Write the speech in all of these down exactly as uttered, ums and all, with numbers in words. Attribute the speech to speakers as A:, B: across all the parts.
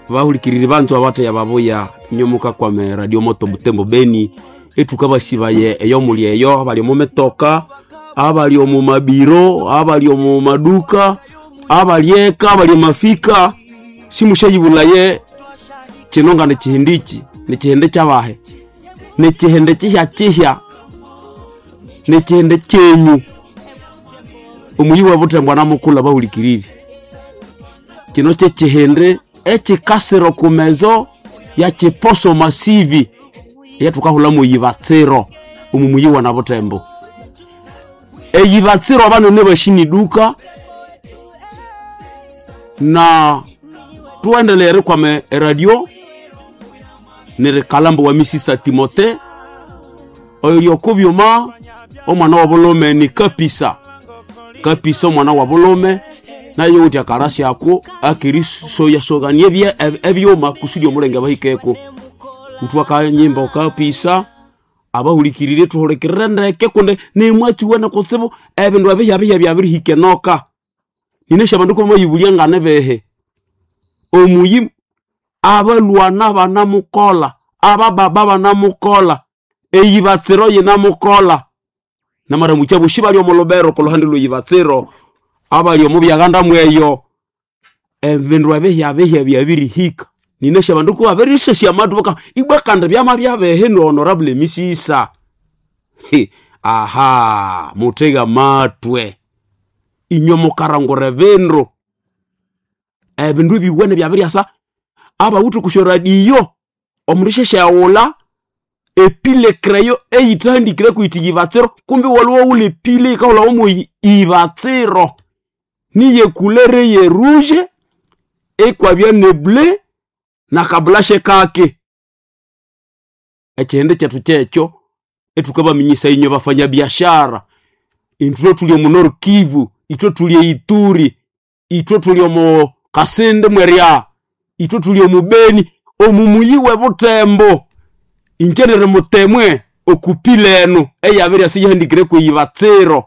A: Bahulikiriri banzu abateya babuya nyomuka kwame Radio Moto Butembo Beni etuka basibaye eyo muli eyo abali omu mitoka, abali omu mabiro, abali omu maduka, abali eka, abali emafika. Simusyayibulaye kino nga nikihindi iki, nikihindi kyabahe, nikihindi kihya-kihya, nikihindi kyenyu. Omuyi w'ebutembo anamukulha bahulikiriri. Kino kyekihindi ekikasira oku mezo ya kiposo masivi eyathukahulhamu eyibatsiro omu muyi wa Nabutembo. Eyibatsiro abanene bashiniduka na thuwendeleye erikwama eradio nerikalhambo wa Misisa Timote oyuli oko byuma omwana w'obulhume ni Kapisa. Kapisa omwana w'obulhume naye wuthi akarasyaku akerisoyasogania ebye ebyuma kusudi omulenge abahikeko. Wuthwa akanyimba okapisa abahulikiriri thuhulikirire ndeke kundi nimwatsi kutsibu ebindu ebihya-bihya byabirihika enoka. Ninasi abandu kubamayibulya nganibihi. Omuyi abalhwana banamukolha, abababa banamukolha, eyibatsiro yinamukolha. Namaramukya abosi bali omo lubero okoluhande lweyibatsiro, abali omo byaghanda mweyo, ebindu ebihya-bihya byabirihika. Ninasi abandu kubabirisyasya amathu baka ibwa kandi byamabyabihi nu Honorable Misisa. Aha, muthege amatwe inywe mukarangura ebindu. Ebindu ebiwene byabiryasa abawithe okusyo radio omundu isyasyawulha epile crayon eyithahandikireko yithi yibatsiro kumbi iwalhwa iwawulha epile eyikahulhawa mo ibatsiro. Niye couleur ye rouge ikwabya ne bleu nakabulashe kake. Ekihindi kyethu kyekyo ethukabaminyisaya inywe bafanyabiashara. Ithwe thuli omu Nord Kivu, ithwe thuli e Ituri, ithwe thuli omo Kasindi mwerya, ithwe thuli omu Beni, omu muyi w'ebutembo. Ingye niri mutemwe okupila enu eyabiryasa iyahandikireko eyibatsiro.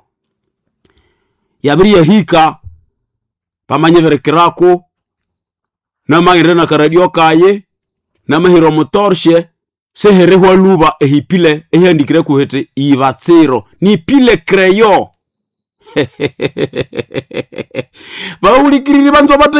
A: Yabiryahika bamanyibirikiraku namaghenda nakaradio kayi, namahira omu torshe sihirihwa lhuba ehipile eyahandikireko hithi ibatsiro nipile crayon. Bahulikiriri banza batheya.